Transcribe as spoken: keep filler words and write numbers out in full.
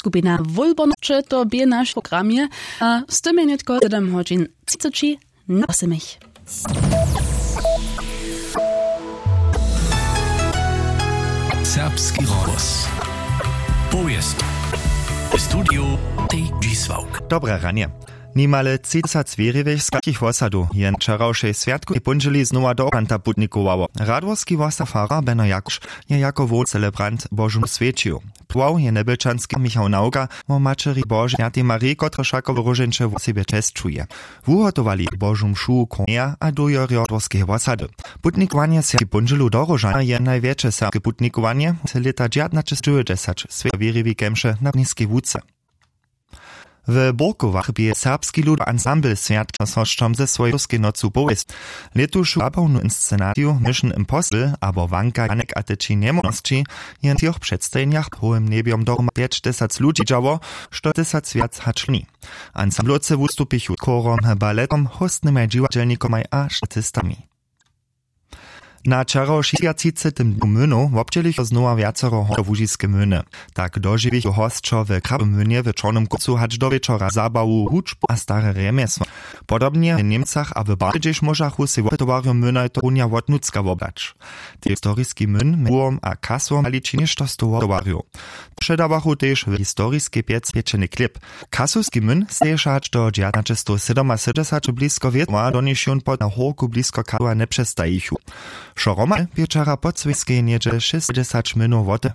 Skupina wólbornosće to bě naš programje a z tym je nětko sedem hodźin třiceći na wosomich. Serbski rozhłos. Powěst. Studio tej dźisławk. Dobre ranje. Nimale tři tysac wěriwych z takich wosadow je na wčerawšej swjatkowej póndźěli znowa do okanta putnikowało. Radworski wosa farar beno jakuš je jako hłowny celebrant božum swjećił. Płał je njebelčanski michał nawka wo maćeri božej swjatej mariji kotrež wšako w róžeńće wosebje česćuje. Wuhotowali božu mšu kornjeja a dójerjo dworskeje wosady. Putnikowanje swjatej póndźělu do róžana je najwjetše serbske putnikowanje. Lěta dźewjatnaćestowjećdźesać swjeto wěriwi kemše na niskej łuce. W burkowach bě serbski ludowy ansambl swjatnosćom ze swojej syrskej nocu powěst. Lětušu zabawnu inscenaciju mission impossible abo wanka janek a teči njemóžnosći je na třoch předstajenjach w howym njebjom dohroma pjećtysac ludźi dźało, što tysac wjac hač loni. Ansamblowce wustupichu z chórom, baletom, hóstnymaj dźiwadźelnikomaj a statistami. Na wčerawk šěsćatřicetym dnju mynow wobdźělichu znowa wjacero hornjołužiske myny. Tak dožiwichu hosćo w krabymynje w čornym kóncu hač do wječora zabawu hudźbu a stare rjemjesła. Podobnje w němcach a w barje hdźež móžachu sej wopytowarjo mynaj to runja wotnutřka wobdać. Tež historiski myn mjez buhom a kasłom naliči něšto stow wopytowarjow. Předawachu tež w historiskej pjec pječeny chlěb. Kasowski myn steješe hač do dźewjatnaćestowsydomasydomdźesat blisko wětwa doniž jón pod na hórku blisko kasowa njepřestajichu. Wšo hromadnje bě wčera po cwěskej něhdźe šěsćdźesat mynow wote.